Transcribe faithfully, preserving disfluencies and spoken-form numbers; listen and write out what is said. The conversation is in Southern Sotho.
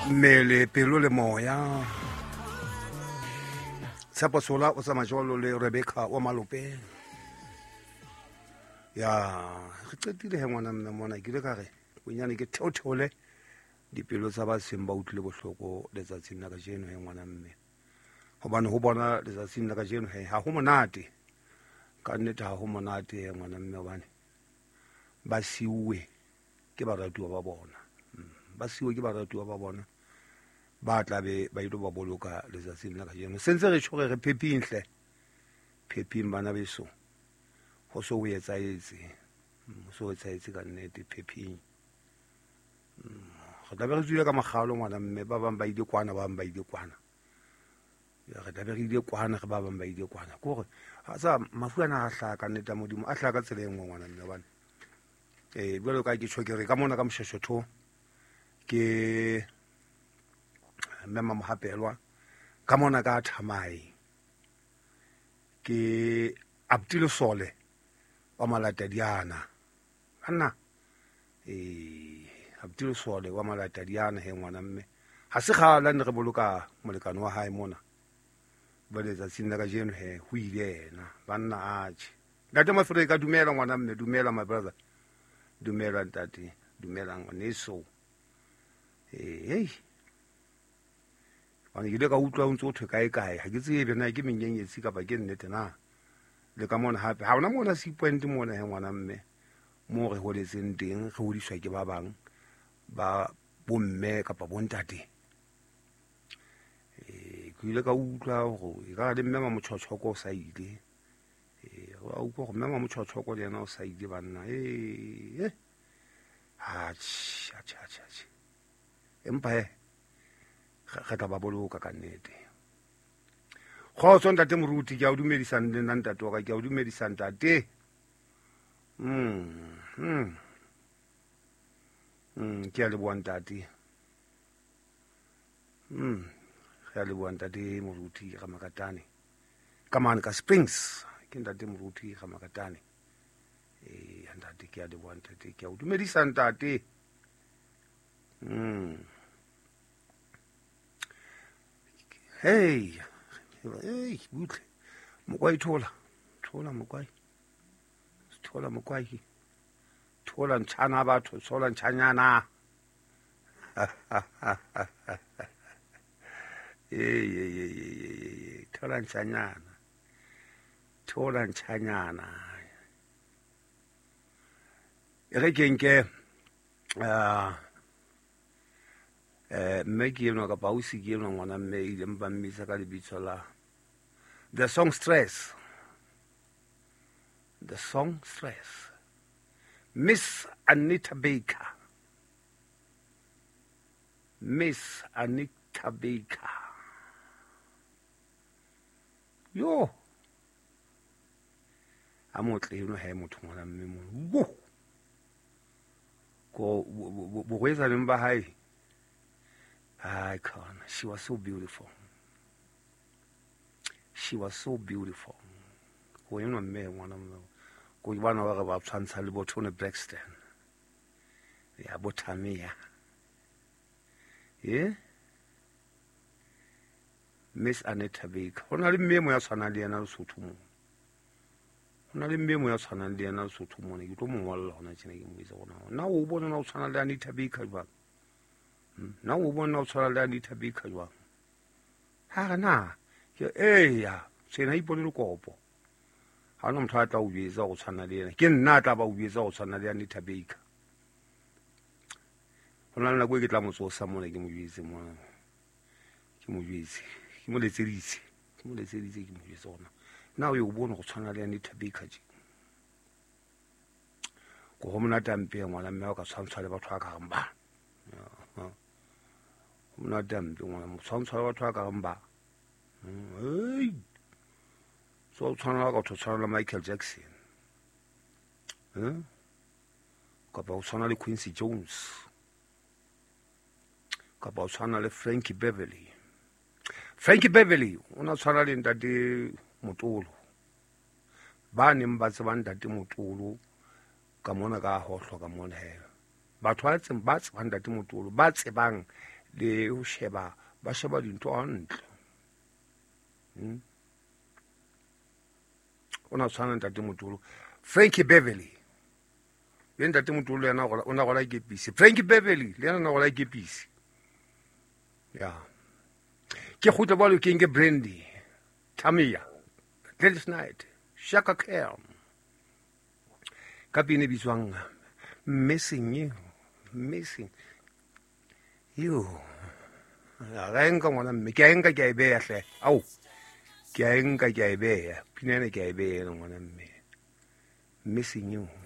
Mmele, pelo le moya. Tshepo Sola o tsamaya jwalo le Rebecca wa Malope. Ya, re qetile he ngwana mme mona ke ile ka re bonyane ke theotheole dipelo tsa ba seng ba utlwile bohloko letsatsing la kajeno he ngwana mme. Hobane ho bona letsatsing la kajeno he ha ho monate. Ka nnete ha ho monate he ngwana mme hobane ba siuwe ke baratuwa ba bona. Ba siuwe ke baratuwa ba bona. Ba tla be ba ile ba boloka letsatsing la kajeno. Sentse re tjho re pheping hle. Pheping bana beso. Ho so o etsaetse. Ho so etsaetse ka nnete pheping. Re tla be re tswile ka makgalo ngwana mme ba bang ba ile kwana ba bang ba ile kwana. Ya re tla be re ile kwana re ba bang ba ile kwana. Ke hore ha sa mafu ana a hlaha ka nnete ya Modimo a hlaha ka tsela e nngwe ngwana mme hobane eh jwalo ka ke tjho ke re ka mona ka Moshweshwetho ke mme Mamohapelwa ka mona ka Thamae ke Abdul Sole wa Malatadiana anna eh Abdul Sole wa Malatadiana he ngwana mme ha se kgale ne re boloka molekane wa hae mona ba letsatsing la kajeno he ho ile yena banna atjhe. Ntate Mafrika dumela ngwana mme, dumela my brother, dumela ntate, dumela ngwaneso. Eh hey bana ke ile ka utlwa o ntse o thwe kae kae ha ke tsebe na ke menyenyetsi kapa ke nnete na. Le ka mona hape ha ona mona C point mona he ngwana mme mo re holetseng teng re hodiswa ke ba bang ba bomme kapa bontate. Eh ke ile ka utlwa hore e ka le mme Mamotjhotjhoko o sa ile. Eh wa utlwa hore mme Mamotjhotjhoko le yena o sa ile banna. Eh atjhe atjhe atjhe. Empa he re tla ba boloka ka nnete. Kgotso ntate Moruti, ke a o dumedisa le nna ntate wa ka, ke a o dumedisa ntate. Mm. Mm. Mm, ke a leboha ntate. Mm. Ke a leboha ntate Moruti Ramakatane. Ka mane ka Springs, ke ntate Moruti Ramakatane. Eh, ntate ke a leboha ntate, ke a o dumedisa ntate. Mm. Hey, hey, butle. Mokwai thola. Thola mokwai. Thola mokwai. Thola ntshana batho, thola ntshanyana. Hey, hey, hey, hey, thola ntshanyana. Thola ntshanyana. E re ke nke ah eh mme ke enwa kapa ausi ke enwa ngwana mme ile ba mmitsa ka lebitso la The Song Stress. The Song Stress. Miss Anita Baker. Miss Anita Baker. Yo. A motle eno ha e motho ngwana mme mo. Wo. Ko borwetsaneng ba hae. I can't. She was so beautiful. She was so beautiful. Go eno mme ngwana mme. Go bana ba re ba tshwantsha le bo Tony Braxton. Ya bo Tamia. Eh? Miss Anita Baker. Ho na le mme mo ya tshwanang le yena Lesotho mo. Ho na le mme mo ya tshwanang le yena Lesotho mo. Ke tlo mo ngolla hona tjena ke mo itse gona. Na o bona na o tshwana le Anita Baker jwang? Na o bona o tshwana le Anita Baker jwang? Ha re na ke eya tsena ipone le kopo. Ha ona motho a tla o jwetsa go tshwana le yena. Ke nna a tla ba o jwetsa go tshwana le Anita Baker. Ho na le nako e ke tla mo tsosa mona ke mo jwetse mona. Ke mo jwetse. Ke mo letseditse. Ke mo letseditse ke mo jwetse gona. Na o yo bona go tshwana le Anita Baker je. Go go monate ampe ngwana mme o ka tshwantshwa le batho ba ka reng ba. Ho monate ampe ngwana mo tshwantshwa le batho ba ka reng ba. Hey. So tshwana ka go tshwana le Michael Jackson. Eh? Kapa o tshwana le Quincy Jones. Kapa o tshwana le Frankie Beverly. Frankie Beverly o na tshwana le ntate Motolo. Ba neng ba tseba ntate Motolo ka mona ka hohlwa ka mona he. Batho ba tsebang ba tsebang ntate Motolo ba tsebang le ho sheba ba sheba dintho hantle. Hmm? O na tshwana ntate Motolo Frankie Beverly le ntate Motolo yena o na gola kepisi Frankie Beverly le yena na gola kepisi ya ke kgutla balo ke nke Brandy Tamia Gladys Knight Shaka Khan ka pina e bitswang Missing You Missing You ga e nka ngwana mme ke a e nka ke a e beya hle ao ke a e nka ke a e beya pina ena ke a e beya ngwana mme Missing You.